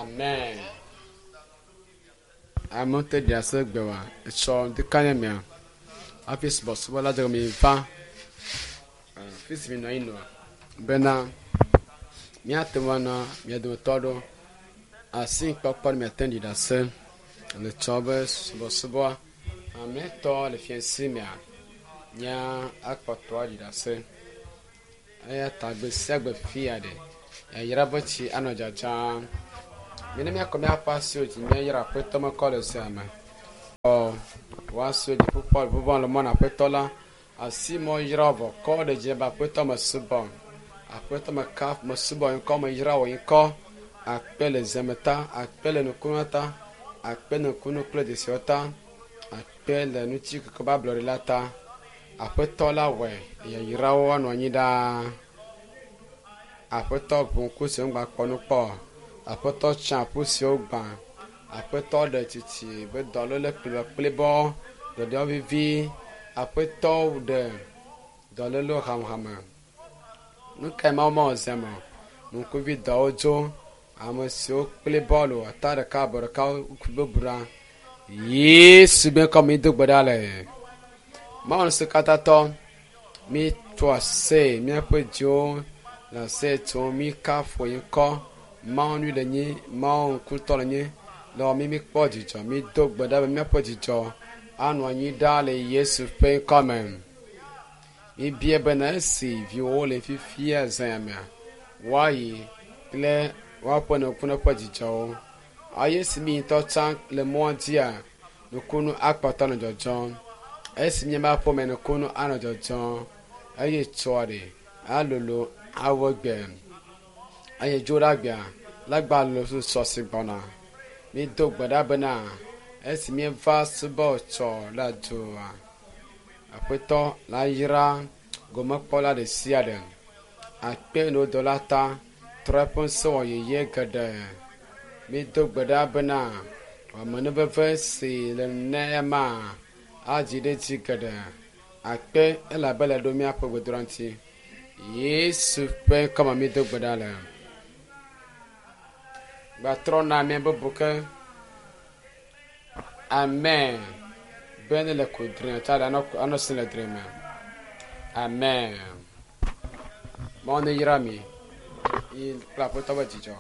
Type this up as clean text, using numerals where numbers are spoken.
Amen. Amewo te ɖi ase gbe wa etsɔ ŋdikanya mea hafi subɔsubɔ la dze mi va fi si mi nɔ anyi nɔa bena míate ŋu ana mia dometɔ aɖewo asi kpɔkpɔ ne miate ŋu ɖi ɖase le tsɔ be subɔsubɔa ametɔ le fiasi mea mía akpɔtɔ aɖi ɖase eya ta gbe sia gbe fia ɖe yayra be tsi anɔ dzadzam. Mine míakɔ míaƒe asiwo dzi míayra aƒetɔ mekɔ le zea me. Ɔ woasiwo dzi ƒukpɔ vuvɔ le mɔ na aƒetɔ la. Asi mɔ yra vɔ kɔ ɖe dzi be aƒetɔ mesubɔ. Aƒetɔ meka mesubɔ ŋkɔ meyra wò ŋkɔ. Akpe le zeme ta, akpe le nukunu ta, akpe nukunu kple dzesiwo ta, akpe le nutsi keke be ablɔɖe la ta. Aƒetɔ la wɔe yayrawo anɔ anyi ɖaa. Aƒetɔ ʋu ŋku siwo ŋgba kpɔ nu kpɔ. Aƒetɔ tsa aƒu siwo gbã. Aƒetɔ ɖe tsitsi be dɔléle kplibɔkplibɔ, ɖɔɖɔ vivi. Aƒetɔ ɖe dɔlélewo hamehame. Nu kae Mawu mewɔ zia me o? Ŋkuvi dɔwo dzo. Ame siwo kpli bɔlu ata ɖeka abɔ ɖeka bubu ɖa. Yesu be ŋkɔ mi do gbe ɖa le. Mawu ŋusẽkatãtɔ, mi tso ase míaƒe dziwo le ase tsom mi kafu yi ŋkɔ. Mawu nyui le nyi, Mawu ŋkutɔ le nyi. Le wɔ mi mikpɔ dzidzɔ, mi do gbe ɖa be míaƒe dzidzɔ anɔ anyi ɖaa le Yesu ƒe ŋkɔ me. Mi bia bena esi viwo le fifia zã mea, woayi kple woaƒe nukunu ƒe dzidzɔwo. Eye esi mi ŋutɔ tsã le mɔa dzia, nukunu akpɔtɔ nɔ dzɔdzɔm. Esi míaƒe aƒeme nukunu anɔ dzɔdzɔm eye tsɔa ɖe alolo awɔ gbe eye dzo ɖe agbea la gba lolo sɔ si gbɔna. Mi do gbe ɖa bena esi míeva subɔ tsɔ le dua, aƒetɔ la yra gomekpɔla ɖe sia ɖe. Akpe no do la ta trɔ eƒe ŋusẽ wɔ yeye geɖe. Mi do gbe ɖa bena amenuveve si le nema adzi ɖe dzi geɖe. Akpe elabe le ɖo míaƒe gbedoɖa ŋuti. Yesu ƒe ŋkɔme mi do gbe ɖa le. Gbatrɔ na mía bubu ke. Amen. Be ne le ko dre tsa ɖe anɔ si le dre me. Amen. Mawu ne yra mi. Yi kple aƒetɔ be dzidzɔ.